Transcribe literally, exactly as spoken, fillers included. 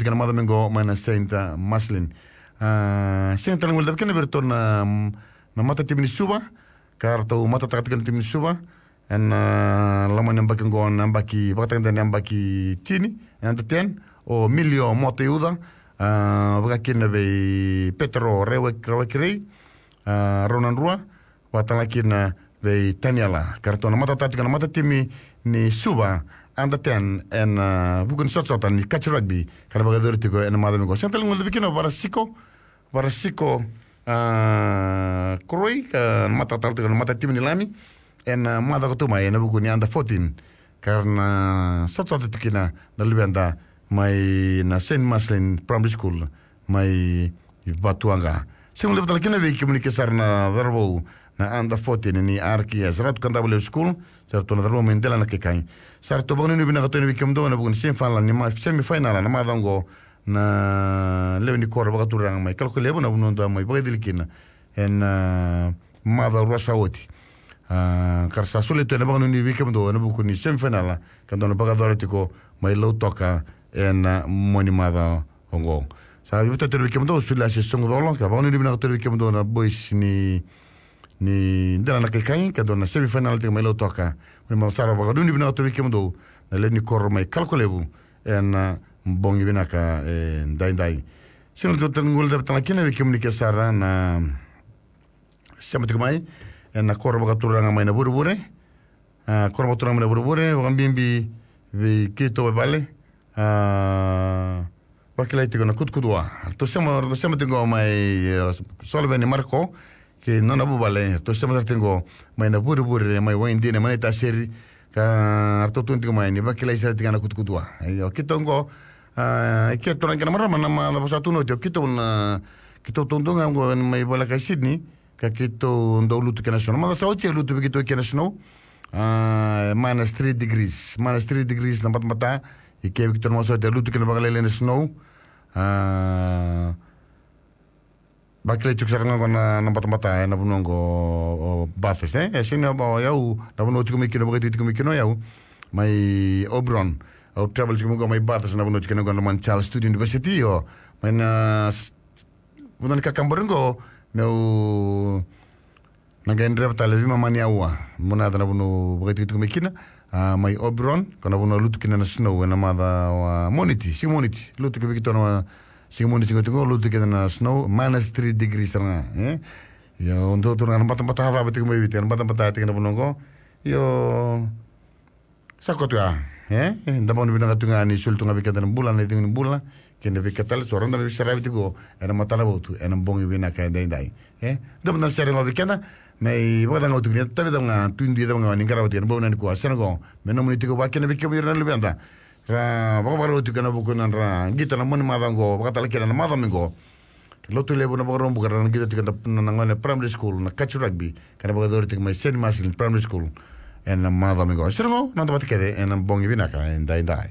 Tiko na macawa mai qo mai na Saint, uh, Marcellin. Uh, sega tale ni guilecavi kina vei iratou na, na matatimi ni Suva, ka ratou matataka tiko na timi ni Suva ena, uh, loma ni yabaki qo, na yabaki, vakatagedegede na yabaki tini, under ten, o Milio Motoiuca, uh, vaka kina vei Petero Rawa-, Rawakerei, uh, Raunadrua, vaka tale kina vei Taniela. Ka ratou na matataka tiko na matatimi ni Suva under ten ena, uh, vuku ni sotasota ni catch rugby ka na vakayacori tiko ena macawa mai qo. Sega tale ni guilecavi kina o Varasiko, Varasiko, uh, Koroi, ka na matataka tiko na matatimi ni Lami ena, uh, macawa ka tu mai ena vuku ni under fourteen. Ka ra na sotasota tiko kina na luveda mai na Saint Marcellin Primary School mai Vatuwaqa. Sega ni guilecavi tale kina vei kemuni ke sara na cauravou na under fourteen ni R K S, Ratu Kadavulevu School, sa ratou na cauravou mai Delainakaikai. Sa ratou vakanuinui vinaka tu yani vei kemudou ena vuku ni semifinal ni ma-, semifinal na macawa qo na lewe ni koro vakaturaga mai Kalokolevu, na vanua dou a mai vakaicili kina ena, uh, macawa rua sa oti. Uh, ka ra sa solia tu ena vakanuinui vei kemudou ena vuku ni semifinal ka dou na vakayacora tiko mai Lautoka ena, uh, mua ni macawa oqo. Sa veivutuni tu vei kemudou, Suliasi Sogucolo, ka vakanuinui vinaka tu vei kemudou na boys ni, ni Delainakaikai, ka dou na semifinal tiko mai Lautoka. Ni macawa sara, vakanuinui vinaka tu vei kemudou na lewe ni koro mai Kalokolevu ena, uh, bogi vinaka edaidai. Sega ni guilecavi tale kina vei kemuni ke sara na sema tiko mai ena koro vakaturaga mai Navurevure. A, koro vakaturaga mai Navurevure, vakabibi vei keitou e vale. A, vakilai tiko na Kutukutua. Ratou sema, ratou sema tiko mai, e, Soloveni Marko kei na nona vuvale. Ratou sema sara tiko mai Navurevure, mai Waidina, mai Naitasiri. Ka ratou tukuna tiko mai ni vakilai sara tiko ga na Kutukutua. Io, keitou qo, a, e keitou na kena marama na macawa sa tu na oti, o keitou na, keitou taudua ga qo mai voleka e Sydney, ka keitou dau lutu kina snow. Na macawa sa oti e lutu vei keitou kina snow. A, minus three degrees. Minus three degrees na batabata. I ke vei keitou na macawa sa oti e lutu kina vakalailai na snow. A, vakilai tiko sara ga qo na, na batabata ena vanua qo o Bathurst, e? E sega ni o yau, na vanua tiko mai kina, vakaitiko tiko mai kina o yau. Mai Oberon. Au travel tiko mai qo mai Bathurst, na vanua tiko mai qo na Mount Charles Student University, o. Mai na s-, vanua ni kakabori qo, meu na qai dreva tale veimama ni aua. Mo na yaco na vanua vakaitikotiko mai kina, a, mai Oberon, ko na vanua lutu kina na snow ena macawa Moniti, siga Moniti. Lutu kina vei keitou na siga Moniti, siga tiko, lutu kina na snow, minus three degrees sara ga, e? Io, dou tu na batabata cava tiko mai Viti, na batabata tiko na vanua qo. Io, sa koto ya, e? E, da vakanuinui vinaka tu ga ni soli tu ga vei keda na bula, na icegu ni bula, kei na veika tale so, rawa ni da na veisaravi tiko ena matanavotu ena bogi vinaka edaidai. E, da mada na sere ga vei keda, me ivakacagau tiko ni tavi cava ga, tu dui cava ga ni qarava tiko ena bogi nikua, sere qo, me nomuni tiko vaka kina vei kemuni ira na luveda. Ra vakavakarau tiko ena vuku ni nodra qito ena mua ni macawa qo, vaka tale kina na macawa mai qo. Lotulevu na Vakaraubuka, ra na qito tiko na, na, na gone primary school, na catch rugby, ka na vakayacori tiko mai Saint Marcellin Primary School ena macawa mai qo. Sere qo, na noda vata kece ena bogi vinaka edaidai.